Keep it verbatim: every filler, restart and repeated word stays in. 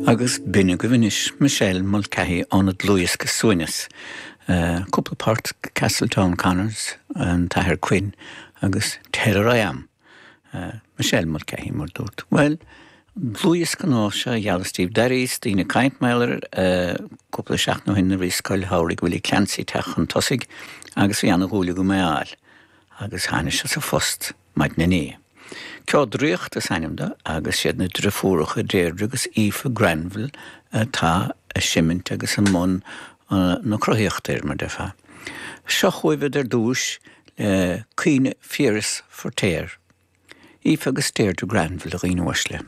Agus b'in agaibh anois Michelle Mulcahy óna dlúthdhiosca Suaimhneas. Uh, cúpla port Castletown Connors an tAthair Quinn agus Tell Her I Am. Uh, Michelle Mulcahy mar dúirt. Well, dlúthdhiosca nua seo a gheallas daoibh Dairíos daoine caint maidir uh, cúpla seachtain ó shin a bhí scoil shamhraidh Willie Clancy teach chun tosaigh agus bhí ana-dhúil agam é a fháil, agus tháinig sé sa phost maidin inné. Ceol Draíochta is ainm dó agus siad na deirfiúracha Deirdre agus Aoife Granville atá ag seimint agus i mbun na cruthaíochta air mar déarfá. Seo chugaibh ar dtús le Caoineadh Phiarais Feirtéar. Aoife agus Deirdre Granville a dhaoine uaisle.